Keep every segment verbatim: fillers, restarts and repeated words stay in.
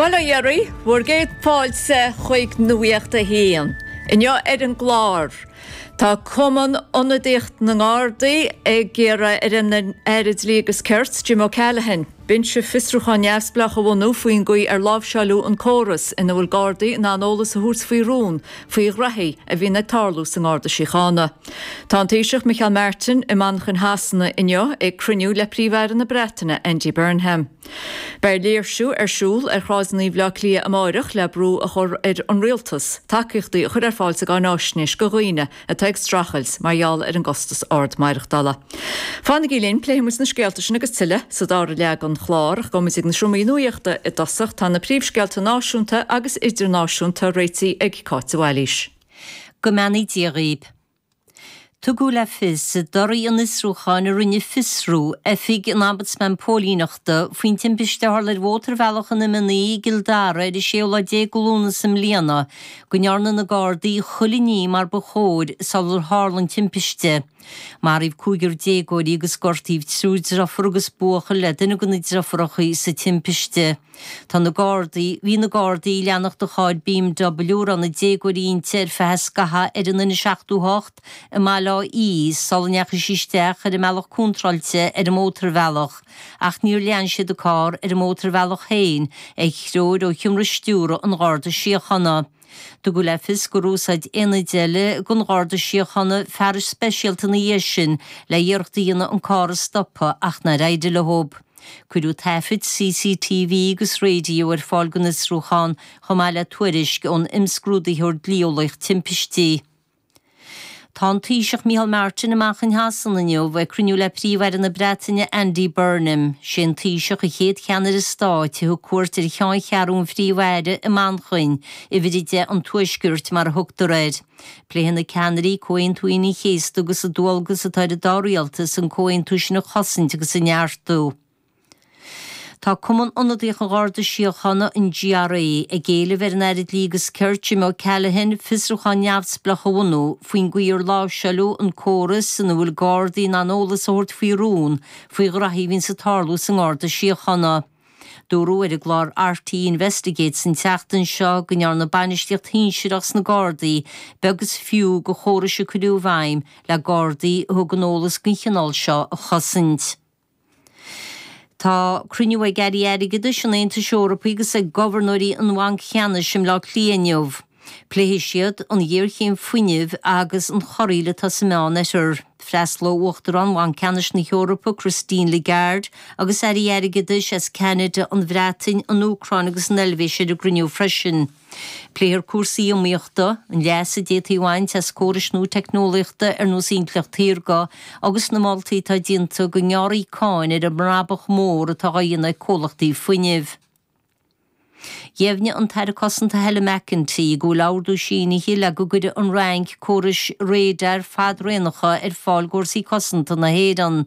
Bhuel a dheiridh, bhur gcéad fáilte chuig Nuacht a hAon. Inniu ar an gclár. Tá Cumann Ionadaíocht na nGardaí ag iarraidh ar an Aire Dlí agus Cirt Jim O'Callaghan, binse fiosrúcháin neamhspleách a bhunú faoin gcaoi ar láimhseáladh an córas ina bhfuil Gardaí in ann eolas a thabhairt faoi rún faoi ghraithí a bhíonn ag tarlú sa nGarda Síochána. Tá an Taoiseach Micheál Martin i Manchain Shasana inniu ag cruinniú le Príomh-Aire na Breataine Andy Burnham. Beidh léirsiú ar siúl ar shráideanna Bhaile Átha Cliath amárach le brú a chur ar an rialtas, tacaíochtaí a chur ar fáil sa gcáinaisnéis do dhaoine atá ag streachailt mar gheall ar an gcostas ard maireachtála. Fanaigí linn pléifimid na scéalta sin agus tuilleadh sa dara leath den chlár gabhfaimid ag na seomraí nuachta i dtosach tá na príomhscéalta náisiúnta agus idirnáisiúnta réitithe ag Cáit Bhailís. Go mbeannaí Dia dhaoibh. Tugadh le fios i dtorthaí an fhiosrúcháin a rinne Fiosrú, oifig an Ombudsman Póilíneachta, faoin timpiste a tharla ar Mhótarbhealach an M naoi i gCill Dara ar an séú lá déag de Lúnasa i mbliana, go ndearna na Gardaí chuile ní mar ba chóir sular tharla an timpiste. Maraíodh cúigear déagóirí agus gortaíodh triúr deirfiúr agus buachaill le duine de na deirfiúracha sa timpiste. Tá na Gardaí, bhí na Gardaí ag leanacht do charr BMW a raibh na déagóirí inti ar feadh scathaimh ar an N seachtó hocht i mBaile Átha Í sula ndeachaigh sí isteach ar an mbealach contráilte ar an mótarbhealach ach níor lean siad an carr ar an mótarbhealach féin ar threoir ó sheomra stiúrtha an Gharda Síochána. Tugadh le fios gur úsáid aonaid eile den Gharda Síochána fearais speisialta ina dhiaidh sin le iarracht a dhéanamh an carr a stopadh ach nár éirigh leo. Cuireadh taifid CCTV agus raidió ar fáil don fhiosrúchán chomh maith le tuairisc ón imscrúdaitheoir dlí-eolaíoch timpistí. Tá an Taoiseach Micheál Martin i Manchain Shasana inniu ag cruinniú le Príomh-Aire na Breataine Andy Burnham. Sé an Taoiseach an chéad cheannaire stáit a thug cuairt ar cheanncheathrú an Phríomh-Aire i Manchain, uimhir a deich an Tuaiscirt mar a thugtar air. Pléifidh na ceannairí Comhaontú Aoine an Chéasta agus an dualgas atá ar an dá rialtas an comhaontú sin a chosaint agus a neartú. Tá Cumann Ionadaíoch an Gharda Síochána, an GRA, ag éileamh ar an Aire Dlí agus Cirt Jim O'Callaghan fiosrúchán neamhspleách a bhunú faoin gcaoi ar láimhseáladh an córas ina bhfuil Gardaí in ann eolas a thabhairt faoi rún faoi ghraithí a bhíonns ag tarlú sa nGarda Síochána. Dúradh ar an gclár RTÉ Investigates an tseachtain seo go ndearna bainistíocht shinsearach sna Gardaí beag is fiú de chórais a cuireadh i bhfeidhm le Gardaí a thugann eolas den chineál seo a chosaint. Tá cruinniú ag Airí Airgeadais an Aontais Eorpaigh agus ag gobharnóirí an Bhainc Cheannais i mBleá Cliath inniu. Pléifidh siad an ghéarchéim fuinnimh agus an chorraíl atá sa Meánoirthear. Freastalóidh Uachtarán Bhanc Ceannais na hEorpa, Christine Lagarde, agus Airí Airgeadais as Ceanada, an Bhreatain, an Úcráin agus an Eilvéis ar an gcruinniú freisin. Pléifear cúrsaí iomaíochta, an leas a d'fhéadfaí a bhaint as córais nua teicneolaíochta ar nós intleacht shaorga agus na moltaí atá déanta go ngearrfaí cáin ar an mbrabach mór atá á dhéanamh ag comhlachtaí fuinnimh. Dheimhnigh an tAire Cosanta Helen McEntee go bhfuil ordú sínithe le go gcuirfidh an Fhrainc córais radar fadraonacha ar fáil d'fhórsaí cosanta na hÉireann.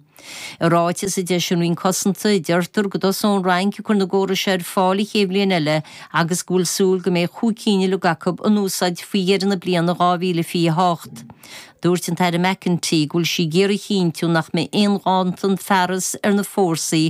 I ráiteas a d'eisigh an Roinn Cosanta, deirtear go dtosóidh an Fhrainc ag cur na gcóras seo ar fáil an chéad bhliain eile agus go bhfuil súil go mbeidh chúig cinn uilig acu in úsáid faoi dheireadh na bliana dhá mhíle fiche a hocht. Dúirt an tAire McEntee go bhfuil sí ag iarraidh a chinntiú nach mbeidh aon ghanntan fearas ar na fórsaí